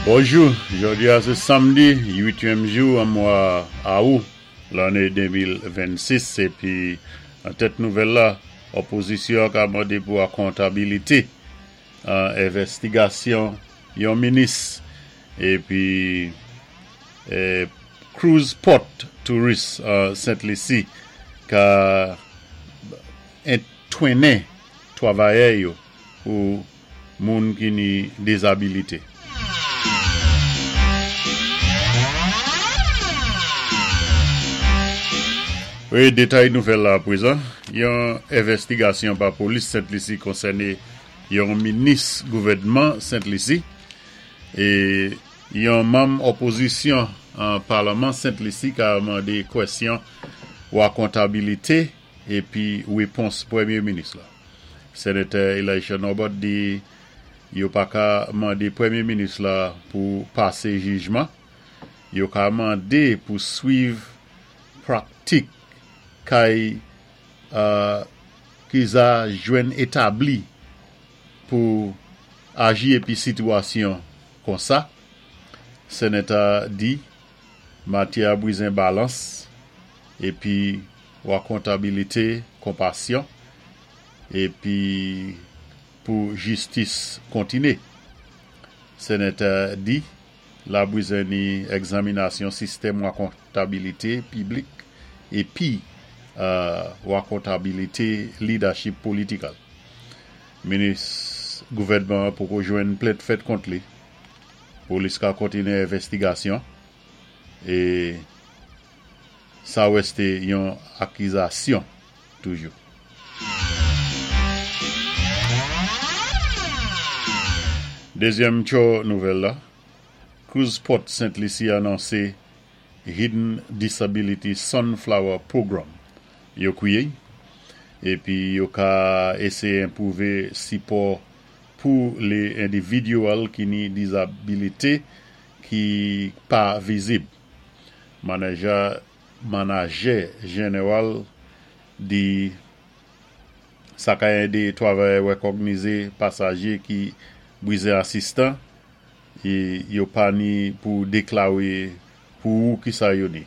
Bonjou, jòdi a sé samdi, uityèm jou an mwa Awou lanné 2026 épi an tèt nouvèl la, òpozisyon an ka mandé pou akontabilité an envèstigasyon yon minis épi cruise port touris an Sent Lisi ka entwennen twavayè yo pou moun ki ni dezabilite. Wi, detay nouvèl la aprezan. Yon envèstigasyon pa polis Sent Lisi konsène yon minis gouvènman Sent Lisi e yon manm òpozisyon an palman Sent Lisi ka mande kwèsyon wakontabilite epi repons premye minis la. Senatè Elisha Norbert di yo pa ka mande premye minis la pou pase jijman, yo ka mande pou swiv praktik kay ki za jwenn etabli pou aji epi sitiyasyon konsa, Senatè di matyè a brizen balans epi wakontabilite konpasyon epi pou jistis kontine. Senatè di la brizen ni egzaminasyon sistèm wakontabilite piblik epi wakontabilite lidachip politikal. Minis gouvènman an poko jwenn plent fèt kont li. Polis ka kontine envèstigasyon e Sa rèste yon akizasyon toujou. Dezyèm tcho nouvèl la, Cruise Port Sent Lisi anonse Hidden Disability Sunflower Program yo kwiye epi yo ka eseye enpwouve sipò pou le endividyèl ki ni dizabilite ki pa vizib. Manager manajè jeneral di sa ka ede travayè rekògnize pasaje ki brize asistan e yo pa ni pou deklare pou ou kisa yo ni.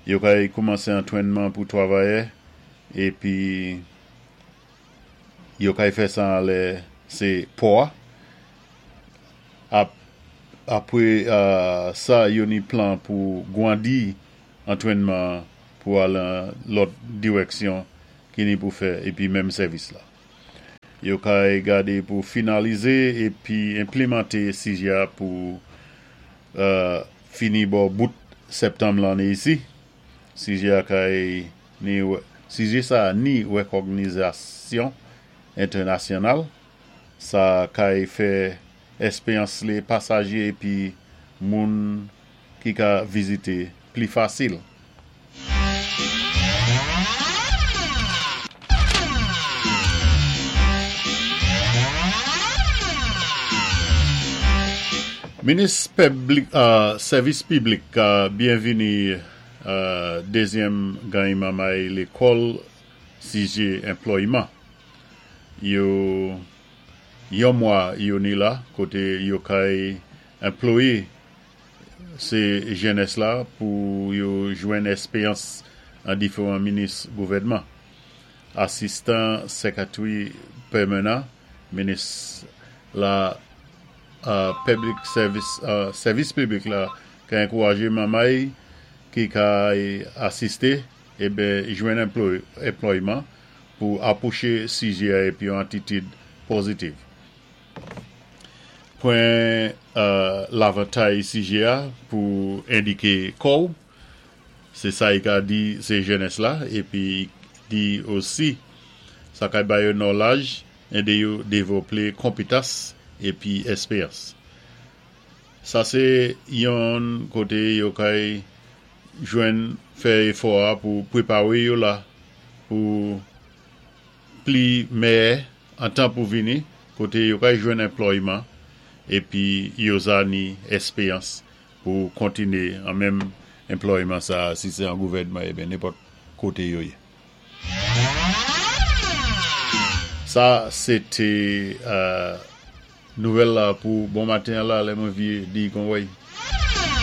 Yo ka koumanse antrènman pou travayè epi Yo kay fè sa anlè se pò a. Ap apre sa yo ni plan pou gwandi antrènman an pou al an lòt dirèksyon ki ni pou fè epi menm sèvis la. Yo kay gade pou finalize epi enplimante sijè a pou fini bò bout septanm lanne isi. Sijè a kay ni sijè sa a ni rekògnizasyon entènasyonal, sa kay fè èspeyans le pasaje epi moun ki ka vizite pli fasil. Minis Sèvis Piblik byenvini Dezyèm gany mamay lekòl sijé enplòyman yo yon mwa yo ni la koté yo kay enployé sé jènès la pou yo jwenn èspeyans an diferan minis gouvènman. Asistan sèkatri pèmenan minis la piblik sèvis sèvis piblik la ka ankouraje manmay ki ka asiste eben jwenn enplòyman pou apwoche sijè a epi yon atitid pozitiv. Pran lavantay sijè a pou endike kò w, se sa i ka di se jenès la epi di osi sa ka ba yo nòlaj ede yo devlope konpetans epi espeyans. Sa se yon kote yo kay jwenn fè efò a pou prepare yo la pou pli mèyè an tan pou vini kote yo kay jwenn enplòyman epi yo za ni espeyans pou kontine an menm enplòyman sa si se an gouvènman eben nenpòt kote yo ye. Sa se te. Nouvèl la pou bon maten la, lè mwen vi di kon wèy.